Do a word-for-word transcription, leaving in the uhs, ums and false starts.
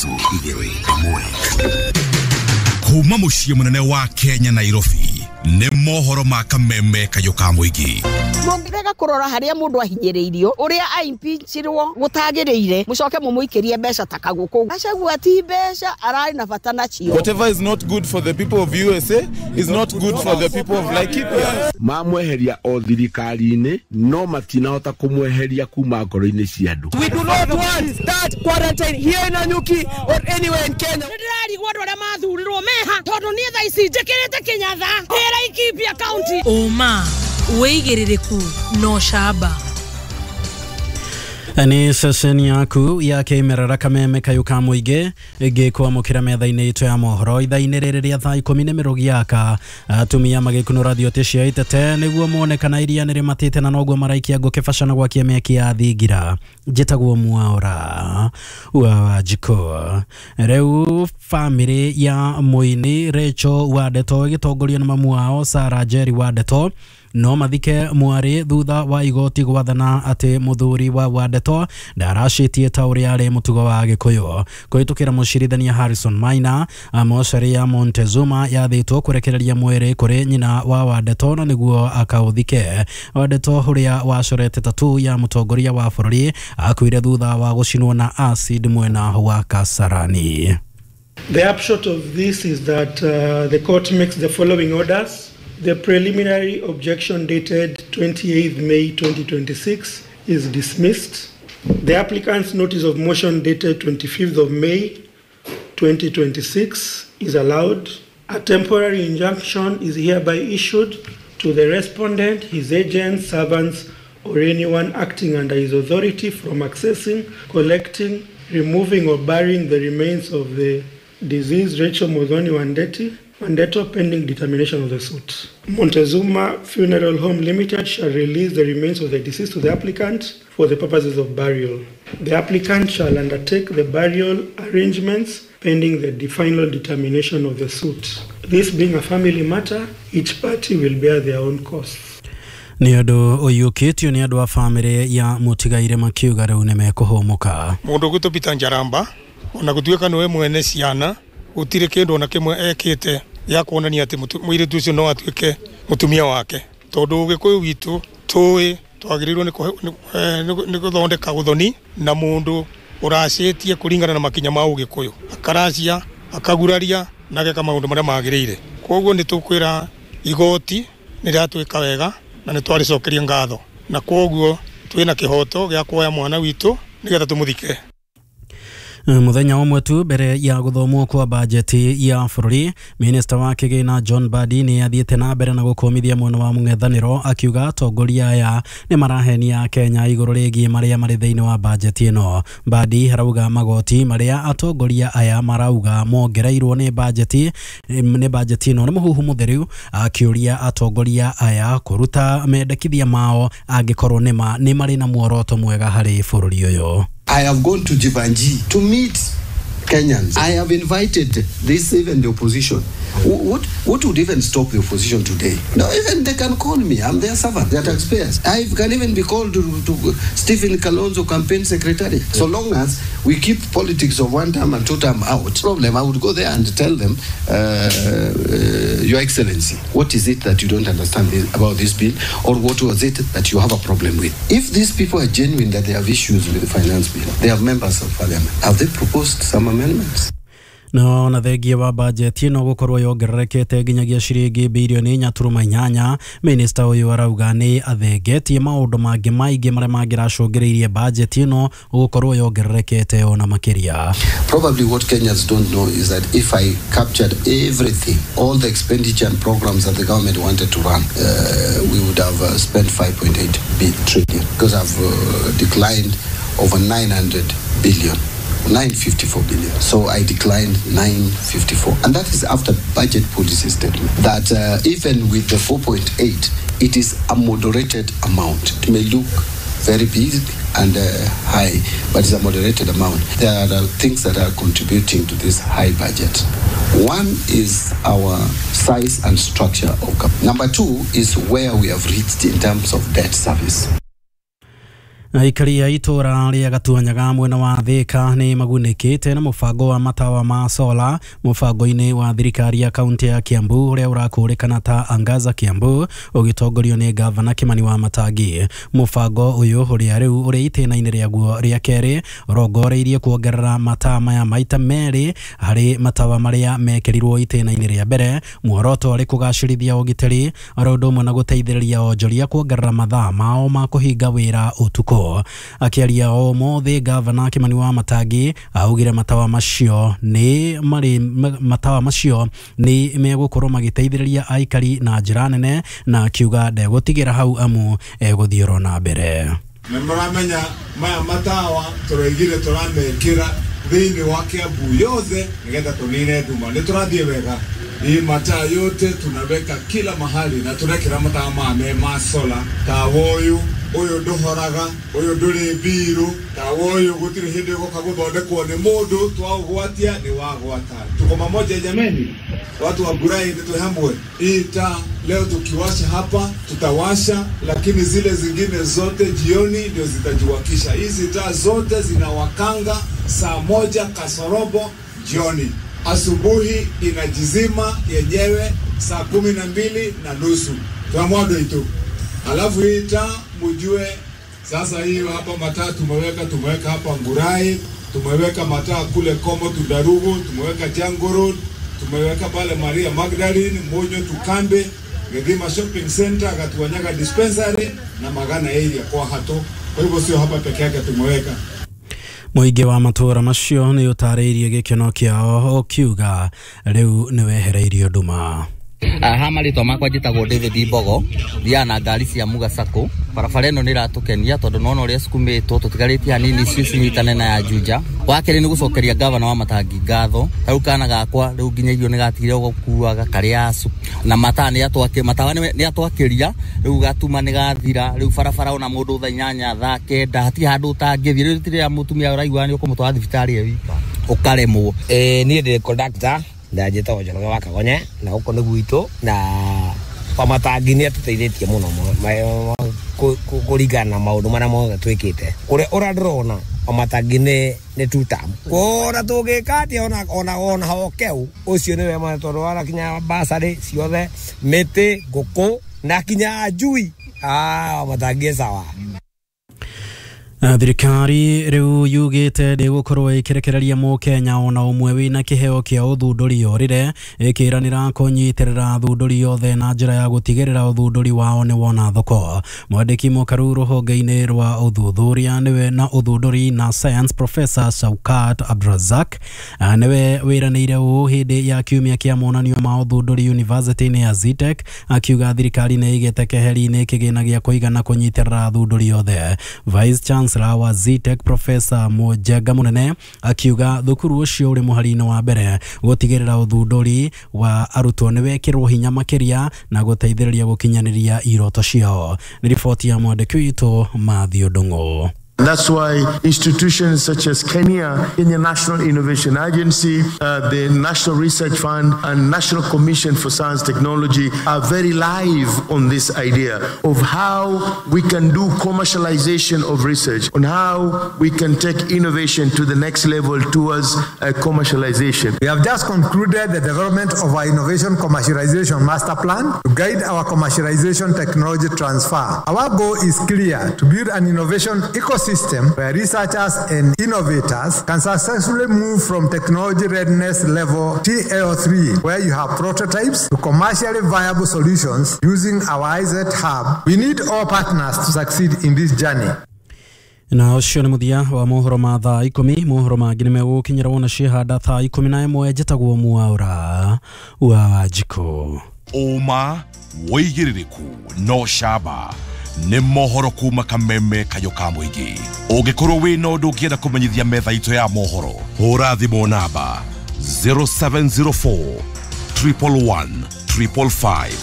Ithatũ igĩrĩ ĩmwe. Kuma mũciĩ mũnene wa Kenya Nairobi nĩ mohoro ma kameme kayũ ka mũingĩ. Mũngĩrega kũrora harĩa mũndũ ahinyĩrĩirio ũrĩa aimpeachirwo gũtagĩrĩire mũcoke mũmũikĩrie mbeca ta kagũkũ. Gachagua ti mbeca ararĩ na bata nacio. Whatever is not good for the people of U S A is not good for the people of Laikipia. Mamweheria o thirikari-inĩ no matinahota kũmweheria kuma ngoro-inĩ cia andũ. We do not want that quarantine here in Nanyuki or anywhere in Kenya. Ndĩrarigwo andũ arĩa mathurirwo meha tondũ niĩ thaa ici njĩkĩrĩte Kĩnyatha Laikipia County. Ũma wĩigĩrĩrĩku no camba. Ni sesheni yaku ya kĩmerera kameme kayũ ka mũingĩ ĩngĩkwamũkĩra metha-inĩ itũ ya mohoro ithaa-inĩ rĩrĩ rĩa thaa ikũmi nĩ mĩrũgi yaka. Atumia magĩkunũra thiote cia itete nĩguo mone kana iria nĩ rĩmatĩte na noguo maraikia ngũ kĩbaca na gwakia mĩaki ya thingira. Njĩtagwo Mwaura wa Wanjikũ. Rĩu bamĩrĩ ya mũini Rachel Wandeto ĩgĩtongorio nĩ mamu wao Sarah Jerry Wandeto no mathike mwarĩ thutha wa igoti gwathana atĩ mũthuri wa Wandeto ndaracĩtie ta ũrĩa arĩ mũtugo wa Gĩkũyũ. Kũhĩtũkĩra mũcirithania Harrison Maina, mocarĩ ya Montezuma yathĩtwo kũrekereria mwĩrĩ kũrĩ nyina wa Wandeto na nĩguo akaũthike. Wandeto ũrĩa wacorete tatu ya mũtongoria wa bũrũri akuire thutha wa gũcinwo na acid mwena wa Kasarani. The upshot of this is that uh, the court makes the following orders. The preliminary objection dated twenty-eighth May twenty twenty-six is dismissed. The applicant's notice of motion dated twenty-fifth of May twenty twenty-six is allowed. A temporary injunction is hereby issued to the respondent, his agents, servants, or anyone acting under his authority from accessing, collecting, removing, or burying the remains of the deceased Rachel Muthoni Wandeti, Wandeto pending determination of the suit. Montezuma Funeral Home Limited shall release the remains of the deceased to the applicant for the purposes of burial. The applicant shall undertake the burial arrangements pending the final determination of the suit. This being a family matter, each party will bear their own costs. Nĩ ũndũ ũiyũkĩtio nĩ andũ a bamĩrĩ ya mũtigaire makiuga rĩu nĩ mekũhũmũka. Mũndũ ũgwĩtwo Peter Njaramba ona gũtuĩka nĩwe mwene ciana gũtirĩ kĩndũ ona kĩmwe ekĩte ya kuonania atĩ mũirĩtu ũcio no atuĩke mũtumia wake tondũ Ũgĩkũyũ witũ tũĩ twagĩrĩirwo nĩ gũthondeka ũthoni na mũndũ ũracĩtie kũringana na makinya ma Ũgĩkũyũ akaracia akaguraria na ageka maũndũ marĩa magĩrĩire. Koguo nĩ tũkwĩra igoti nĩ rĩratwĩka wega na nĩ twarĩcokeria ngatho na koguo twĩna kĩhoto gĩa kuoya mwana witũ nĩgetha tũmũthike. Muthenya ũmwe tu mbere ya gũthomwo kwa bajeti ya bũrũri, minista wa kĩgĩna John Mbadi nĩ athiĩte na mbere na gũkũmithia mwena wa mũng'ethanĩro akiuga atongoria aya nĩ marahenia Kenya igũrũ rĩgiĩ marĩa marĩ thĩinĩ wa bajeti ĩno. Mbadi arauga magoti marĩa atongoria aya marauga mongereirwo nĩ bajeti nĩ bajeti ĩno nĩ mũhuhu mũtheru, akĩũria atongoria aya kũruta mendekithia mao angĩkorwo nĩma nĩ marĩ na muoroto mwega harĩ bũrũri ũyũ. I have gone to Jivanji to meet Kenyans. I have invited this, even the opposition. What, what would even stop the opposition today? No, even they can call me. I'm their servant. They're taxpayers. I can even be called to, to Stephen Kalonzo campaign secretary. So long as we keep politics of one term and two term out, problem, I would go there and tell them, uh, uh, Your Excellency, what is it that you don't understand this, about this bill, or what was it that you have a problem with? If these people are genuine that they have issues with the finance bill, they have members of parliament. Have they proposed some amendments? No na thengia wa bajeti ĩno gũkorwo yongererekete nginyagia ciringi bilioni inya turuma inyanya, minista ũyũ arauga nĩ athengetie maũndũ mangĩ maingĩ marĩa mangĩracũngĩrĩirie bajeti ĩno gũkorwo yongererekete ona makĩria. Probably what Kenyans don't know is that if I captured everything, all the expenditure and programs that the government wanted to run, uh, we would have uh, spent five point eight trillion, because I've uh, declined over nine hundred billion. nine fifty-four billion. So I declined nine fifty-four. And that is after budget policy statement. That uh, even with the four point eight, it is a moderated amount. It may look very big and uh, high, but it's a moderated amount. There are uh, things that are contributing to this high budget. One is our size and structure of government. Number two is where we have reached in terms of debt service. Aikari a itũra rĩa Gatuanyaga mwena wa Thika nĩ magunĩkĩte na mũbango wa matawa ma sola mũbango-inĩ wa thirikari ya kaunti ya Kiambu ũrĩa ũrakũrĩkana ta Angaza Kiambu ũgĩtongorio nĩ gavana Kimani wa Matangi. Mũbango ũyũ ũrĩa rĩu ũrĩ itĩna-inĩ rĩaguo rĩa kerĩ ũrongoreirie kuongerera mataa maya maita merĩ harĩ matawa marĩa mekĩrirwo itĩna-inĩ rĩa mbere, muoroto ũrĩ kũgacĩrithia ũgitĩri oro ũndũ ũmwe na gũteithĩrĩria onjoria kuongerera mathaa mao ma kũhinga wĩra ũtukũ. Akĩaria ũmũthĩ gavana Kimani wa Matangi augire matawa macio nĩ marĩ matawa macio nĩ megũkorwo magĩteithĩrĩria aikari na njĩra nene, na akiuga ndegũtigĩra hau amu egũthiĩ oro na mbere. Nĩ mũramenya maya matawa tũraigire tũramekĩra thĩinĩ wa Kiambu yothe nĩgetha tũnine nduma. Nĩ tũrathiĩ wega, hii mataa yote tunaweka kila mahali na turekera matawa mame ma sola tawa ũyũ ũyũ ndũhoraga, ũyũ ndũrĩ mbiru, tawa ũyũ gũtirĩ hĩndĩ ũgoka gũthondekwo nĩ mũndũ, twaũgwatia nĩ wagwata. Tuko pamoja jameni, watu wa Ngurai nĩ twĩ hamwe. Hii taa leo tukiwasha hapa tutawasha, lakini zile zingine zote jioni ndio zitajiwakisha. Hizi taa zote zinawakanga saa moja kasorobo jioni, asubuhi inajizima yenyewe saa kumi na mbili na nusu twamwado itu. Alafu hii taa mujue sasa, hii hapa mataa tumeweka, tumeweka hapa Ngurai, tumeweka mataa kule Komo Tundarugu, tumeweka Jango Road, tumeweka pale Maria Magdalene, Monyo Tukambe, Githima Shopping Center, Gatuanyaga Dispensary na Magana area kwa hato. Kwa hivyo sio hapa peke yake tumeweka. Mũingĩ wa matũra macio nĩ ũtarĩirie gĩkeno kĩao ũkiuga rĩu nĩ wehereirio nduma. Ha marĩtwa makwa njĩtagwo David Mbogo, thiaga na ngari cia Muga Sacco. Barabara ĩno nĩ ĩratũkenia tondũ nĩwona ũrĩa ĩsukumĩtwo, tũtigarĩtie hanini icio cinyitane na ya Juja. Wa kerĩ nĩ gũcokeria gavana wa Matangi ngatho, ta rĩu kana gakwa rĩu nginya irio nĩ gatigire gũkuaga karĩa acu na mataa nĩ atwakĩ matawa nĩ atwakĩria rĩu gatuma nĩ gathira rĩu barabara ona mũndũ thaa inyanya thaa kenda hatirĩ handũ ũtangĩthiĩ. Rĩu rĩrĩa mũtumia ũraigua nĩ ũkũmũtwara thibitarĩ e wika ũkaremwo. Ĩĩ niĩ ndĩ conductor na njĩtagwo Njoroge wa Kagonye na gũkũ nĩ gwitũ, na Wamatangi nĩ atũteithĩtie mũno kũringana na maũndũ marĩa mothe twĩkĩte. Ũrĩa ũrĩa ndĩrona Wamatangi nĩ nĩ two term. Ona tũngĩka atĩa ona ona ona hokeu ũcio nĩwe mwana tondũ warakinya basarĩ ciothe mĩtĩ ngũkũ na kinya njui. Ah, Wamatangi sawa. Thirikari rĩu yugĩte ndĩgũkorwo ĩkĩrekereria mũkenya ona ũmwe wĩna kĩheo kĩa ũthundũri orĩre, ĩkĩranĩra kũnyitĩrĩra athundũri othe na njĩra ya gũtigĩrĩra ũthundũri wao nĩ wona thoko. Mwandĩki mũkaru rũhonge-inĩ rwa ũthuthuria nĩwe na ũthundũri na science Professor Shaukat Abdrazak nĩwe wĩranĩire ũũ hĩndĩ ya kiumia kĩa monanio ma ũthundũri University-inĩ ya Zetech, akiuga thirikari nĩ ĩigĩte keheri-inĩ kĩgĩna gĩa kũigana kũnyitĩrĩra athundũri othe. Vice Chancellor wa Zetech Professor Mujenga Munene akiuga thukuru ũcio ũrĩ mũhari-inĩ wa mbere gũtigĩrĩra ũthundũri wa arutwo nĩ wekĩrwo hinya makĩria na gũteithĩrĩria gũkinyanĩria iroto ciao. Nĩ riboti ya mwandĩki witũ Matthew Ndung'u. That's why institutions such as Kenya, Kenya National Innovation Agency, uh, the National Research Fund, and National Commission for Science Technology are very live on this idea of how we can do commercialization of research, on how we can take innovation to the next level towards uh, commercialization. We have just concluded the development of our Innovation Commercialization Master Plan to guide our commercialization technology transfer. Our goal is clear: to build an innovation ecosystem system where researchers and innovators can successfully move from technology readiness level T L three, where you have prototypes, to commercially viable solutions using our I Z Hub. We need all partners to succeed in this journey. Na ũcio nĩ mũthia wa mohoro ma thaa ikũmi. Mohoro mangĩ nĩ megũkinyĩra wona ciĩhanda thaa ikũmi na ĩmwe. Njĩtagwo Mwaũra wa Wanjikũ. Ũma wĩigĩrĩrĩku no camba nĩ mohoro kuma kameme kayo ka mũingĩ. Ũngĩkorwo wĩna ũndũ ũngĩenda kũmenyithia metha itũ ya mohoro, hũra thimũ namba zero seven zero four triple one triple five.